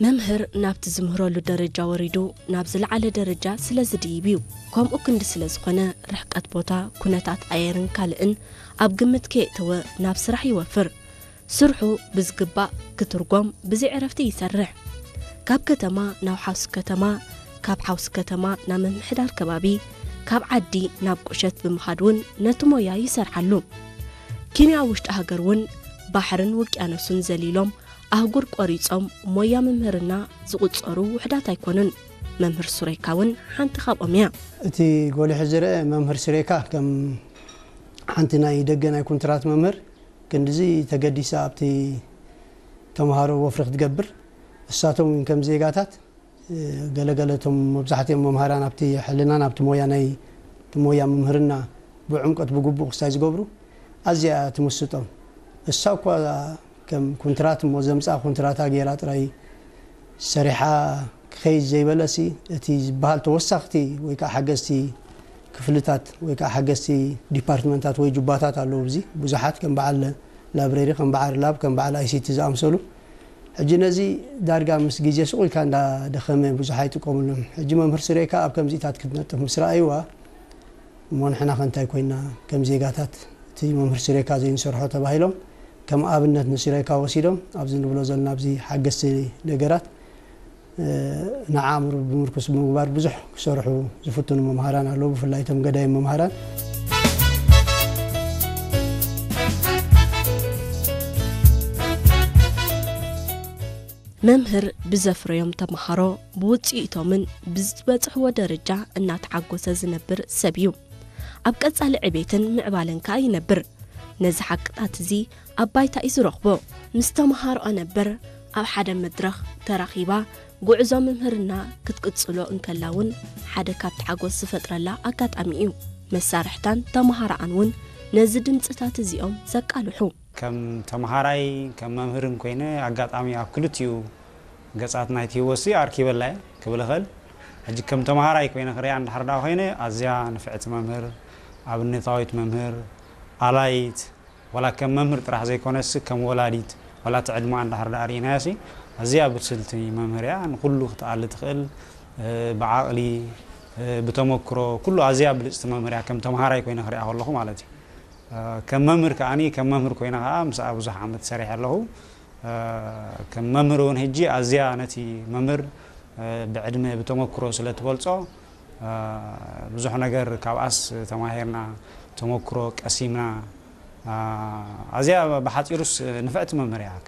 መምህር ናብቲ ዝምህረሉ ደረጃ ወሪዱ ናብ ዝለዓለ ደረጃ ስለ ዝድይብ እዩ። ከምኡ ክንዲ ስለ ዝኾነ ርሕቀት ቦታ፣ ኩነታት ኣየርን ካልእን ኣብ ግምት ከየእተወ ናብ ስራሕ ይወፍር። ስርሑ ብዝግባእ ክትርጎም ብዘይ ዕረፍቲ ይሰርሕ። ካብ ከተማ ናብ ሓውሲ ከተማ፣ ካብ ሓውሲ ከተማ ናብ ምምሕዳር ከባቢ፣ ካብ ዓዲ ናብ ቁሸት ብምኻድ እውን ነቲ ሞያ ይሰርሓሉ። ኪንያ ውሽጢ ሃገር እውን ባሕርን ውቅያኖስን ዘሊሎም ኣህጉር ቆሪጾም ሞያ ምምህርና ዝቑጸሩ ውሕዳት ኣይኮኑን። መምህር ሱሬካ እውን ሓንቲ ካብኦም እያ። እቲ ጎሊሑ ዝረአ መምህር ሱሬካ ከም ሓንቲ ናይ ደገ ናይ ኩንትራት መምህር ክንድዚ ተገዲሳ ኣብቲ ተምሃሮ ወፍሪ ክትገብር፣ እሳቶም እውን ከም ዜጋታት፣ እ፣ ገለገለ እቶም መብዛሕትኦም መምሃራን ኣብቲ ሕልናን ኣብቲ ሞያ ናይ እቲ ሞያ ምምህርና ብዕምቆት ብግቡእ ክስታይ ዝገብሩ ኣዝያ እያ ትምስጦም። እሳ እኳ ከም ኩንትራት እሞ ዘምጽኣ ኩንትራታ ገይራ ጥራይ ሰሪሓ ክኸይድ ዘይበለሲ፣ እቲ ዝበሃል ተወሳኽቲ ወይ ከዓ ሓገዝቲ ክፍልታት ወይ ከዓ ሓገዝቲ ዲፓርትመንታት ወይ ጁባታት ኣለዉ። ኣብዚ ብዙሓት ከም በዓል ላይብረሪ፣ ከም በዓል ላብ፣ ከም በዓል ኣይሲቲ ዝኣምሰሉ። ሕጂ ነዚ ዳርጋ ምስ ግዜ ስቕ ኢልካ እንዳደኸመ ብዙሕ ኣይጥቀሙሉን። ሕጂ መምህር ስሬካ ኣብ ከምዚታት ክትነጥፍ ምስ ረኣይዋ፣ እሞ ንሕና ከ እንታይ ኮይና ከም ዜጋታት እቲ መምህር ስሬካ ዘይንሰርሖ ተባሂሎም ከም ኣብነት ንስሬካ ወሲዶም ኣብዚ ንብሎ ዘለና ኣብዚ ሓገዝቲ ነገራት፣ እ፣ ንዓእምሮ ብምርኩስ ብምግባር ብዙሕ ክሰርሑ ዝፍትኑ መምሃራን ኣለዉ፣ ብፍላይ እቶም ገዳይም መምሃራን። መምህር ብዘፍረዮም ተምሃሮ ብውፅኢቶምን ብዝበፅሕዎ ደረጃ እናተሓጎሰ ዝነብር ሰብ እዩ። ኣብ ቀፃሊ ዕቤትን ምዕባለን ከዓ ይነብር። ነዚ ሓቅታት እዚ ኣብ ባይታ እዩ ዝረኽቦ። ምስ ተምሃሮኣ ነበር ኣብ ሓደ መድረኽ ተራኺባ ጉዕዞ ምምህርና ክትቅፅሎ እንከላ እውን ሓደ ካብቲ ሓጎስ ዝፈጥረላ ኣጋጣሚ እዩ። መሳርሕታን ተምሃሮኣን እውን ነዚ ድምፅታት እዚኦም ዘቃልሑ። ከም ተምሃራይ፣ ከም መምህርን ኮይነ ኣጋጣሚ ኣብ ክልቲኡ ገጻት ናይቲ ህይወትሲ ኣርኪበላ እየ ክብል እኽእል። ሕጂ ከም ተምሃራይ ኮይነ ክሪኣ እንድሕር ደኣ ኮይነ፣ ኣዝያ ንፍዕቲ መምህር፣ ኣብነታዊት መምህር፣ ኣላይት፣ ዋላ ከም መምህር ጥራሕ ዘይኮነሲ ከም ወላዲት፣ ዋላ እቲ ዕድመኣ እንድሕር ደኣ ርኢናዮሲ፣ ኣዝያ ብስልቲ መምህር እያ። ንኹሉ ክትኣሊ ትኽእል፣ እ፣ ብዓቕሊ፣ እ፣ ብተመክሮ፣ ኩሉ ኣዝያ ብልጽቲ መምህር እያ፣ ከም ተምሃራይ ኮይነ ክሪኣ ከለኹ ማለት እዩ። እ፣ ከም መምህር ከኣኒ፣ ከም መምህር ኮይነ ከኣ ምስኣ ብዙሕ ዓመት ሰሪሐ ኣለኹ። እ፣ ከም መምህር እውን ሕጂ ኣዝያ ነቲ መምህር፣ እ፣ ብዕድመ ብተመክሮ ስለ ትበልጾ፣ እ፣ ብዙሕ ነገር ካብኣስ ተማሂርና፣ ተመክሮ ቀሲምና። እ፣ ኣዝያ ብሓጺሩስ ንፍዕቲ መምህር እያ።